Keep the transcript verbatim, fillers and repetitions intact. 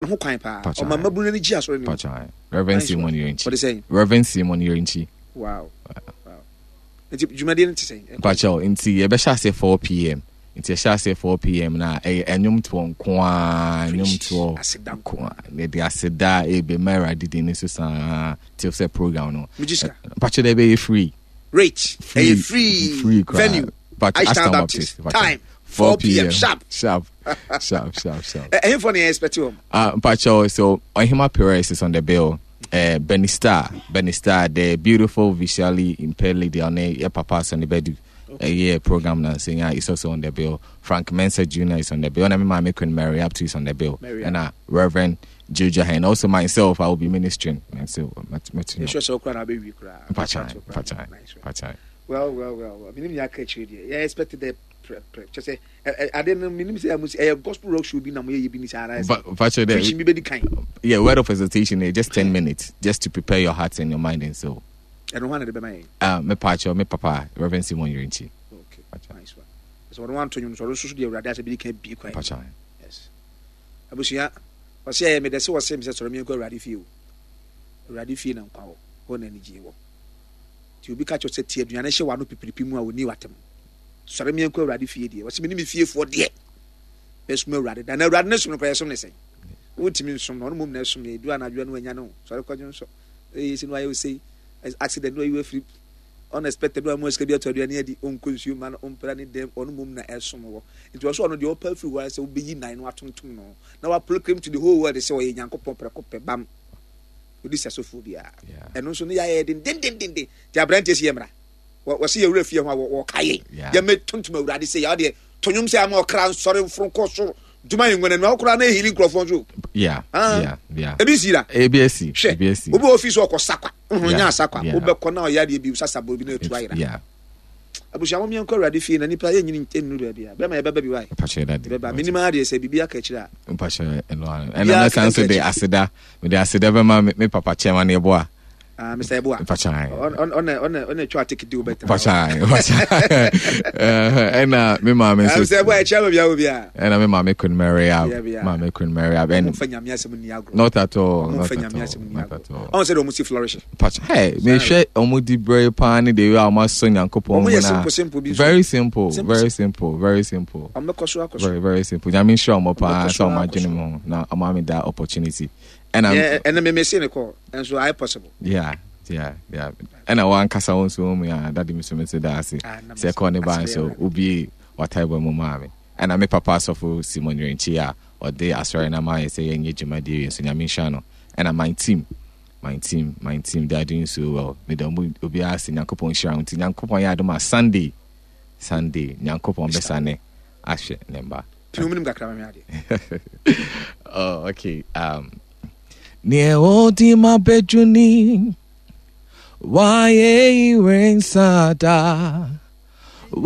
Ho kwan paa ɔma mmabunu n'ani gye asɔre no mu. Reverend Simon Yirenkyi. Wɔde sɛn? Reverend Simon Yirenkyi. wow wow nti dwumadie no te sɛn? Mpakyɛw, nti yɛbɛhyɛ ase four p m. Nti yɛhyɛ ase four p m na ɛyɛ ɛnwomtoɔ nko ara, ɛnwomtoɔ aseda nko ara. Yɛde aseda ebema Awurade din ne so saa till sɛ program no. Megye sika? Mpakyɛw, dɛ ɛbɛyɛ free. Rate? Free. Ɛyɛ free. Free koraa. Venue? But Ashtown Ashtown Baptist. Baptist. Time, four p m sharp. Sharp sharp sharp sharp. Ɛ- ɛhefoɔ na yɛ expect wɔn? Uh, Mpacho, so Ohima Perez is on the bill. Uh, Benny Star, Benny Star, the beautiful visually impaired lady on the Papa Sonny Bedu. Uh, yeah, program now saying yeah, is also on the bill. Frank Mensah Junior is on the bill. And I mean, my Queen Mary up to is on the bill. Mary. And uh, Reverend Jojo and also myself, I will be ministering. And so, met- met- you know. Yɛhwɛ sɛ wokora na wobɛwie koraa. Mpacha, Mpacha, Nice one. Mpacha. well well well well menim nea aka akyire deɛ, yɛ expect dɛ prɛ prɛ kyɛ sɛ ɛ- ɛ- ade no menim sɛ ɛmo ɛyɛ gospel rock show bi na moyɛyɛ bi ni saa ara But Mpacha, preaching the, bi bɛdi kan. Yeah, word of exhortation, eh, just ten minutes, just to prepare your heart and your mind. And so, ɛno ho ana de bɛma yɛn? uh, me Pacho, me Papa, Reverend Simon Yirenkyi. Okay. Mpacha. Nice one. Sɛ ɔno wanto nwom so, ɔno nso so deɛ Awurade asɛ bɛdi kan bie kwan. Mpacha. Yes, abusua, ɔsɛ ɛyɛ meda sɛ wɔsɛ me sɛ sɔrɔ meɛnkɔ Awurade fie o. Awurade fie na nkwa wɔ hɔ na anigye wɔ. Nti obi ka kyerɛ sɛ tie aduane hyɛ w'ano pipiripi mu a wɔni watam, sɔre meɛnkɔ Awurade fie deɛ, wɔsɛ me ne me fiefoɔ deɛ bɛsom Awurade da na Awurade ne som no koraa, yɛsom ne sɛn? Wotumi nsom no, ɔno mmom na ɛsom yɛ. Edu anadwo no wanya no sɔre kɔdwo nsɔ ɛyɛ si no ayɛ osei accident no ayi afiri unexpected no amu sika bi ato aduane adi, ɔnkɔ nsuo ma no, ɔmpra ne dɛm, ɔno mmom na ɛsom wɔ. Nti ɔso ɔno deɛ ɔpa afiri hɔ ara sɛ wobɛyi nan no atontom no na waproclaim to the whole world sɛ ɔyɛ Nyankopɔn prɛko pɛ bam ɔdi sɛ sofoɔ biara. Yeah. Ɛno nso ne yɛayɛ dendendendenden. Nti aberanteɛ si yɛ mmara wɔsi yɛwura fie ho a wɔ- wɔka yɛn Yeah. yɛmɛ tontom Awurade sɛ yɛwɔ deɛ to nnwom sɛ ama ɔkra nsɔre mforo nkɔ soro dwuma yɛ ngwana nua wokora na ɛhili nkurɔfoɔ nso. Yeah. Ah. Yeah. Yeah. Ebi si da. A B S C. Hwɛ. A B S C. Obi wɔ ofi so ɔkɔ sakwa nhun Yeah. nya asakwa Yeah. wobɛkɔ na ɔyɛ adeɛ bi sasa bɔ bi na etu ayera. Yeah. Abusua, mo miɛnkɔ Awurade fie na nipa yɛ nyini nnuru baabi a bɛrima yɛbɛba bi wae. Mpacho, daddy. Yɛbɛba menim adeɛ sɛ biribi aka akyire a. Mpacho, ɛno ano. Biara Ɛna mɛsan so keka de akyi. Aseda. Mede aseda bɛma me me papa chairman Yeboah. Ah, Mister Eboa. Mpacho. ɔna ɔna ɔna atwa ateke di wobɛtena. Mpacho. Mpacho. Ɛna me maame nso. Mister Eboa ɛkyia ma bia wo bia. Ɛna me maame Queen Mary Ab. Yeah, yeah. Maame Queen Mary Ab. And ɔmfa Nyame asɛm ni agorɔ. Not at all. Ɔmfa Not at Nyame all. asɛm ni Not agorɔ. at all. Ɔn sɛ de ɔmo si flourish. Mpacho. Hey, mehwɛ ɔmo di brɛ paa ne de wei a ɔmo asɔ Nyankopɔn Ɔmo mu yɛ na. simple simple bi nso. Very simple. Simple. Very simple. Very simple. Ɔmo bɛkɔ so akɔ so. Very, very simple. Nyame nhyira ɔmo paa Ɔmo bɛkɔ so sɛ ɔmo akɔ adwene so. mu ho na ɔmo ame that opportunity. Ɛna Yɛ- ɛnɛ meme se ne kɔ ɛnso ayɛ possible. yeah yeah yeah ɛna wankasa wo nso mu a dade mi so me so da ase Ah, na sɛ ɛkɔ ne ba ase nso bɛyɛ. wobie wataebɔ mu maa me. Ɛna me papa asɔfo Simon Yirenkyi a ɔde asɔre no ama yɛ sɛ yɛnyɛ dwumadie wie nso, Nyame nhyira no. Ɛna my team my team my team, they are doing so well. Meda ɔmo obiara ase. Nyankopɔn nhyira wo. Nti Nyankopɔn yɛ adom a, Sunday, Sunday, Nyankopɔn bɛsane ahwɛ ne mba. Pini mu nim kakra ma me adeɛ. Oh, okay. Um, Neɛ ɔdi ma bɛdwuni wayɛ iwe nsada.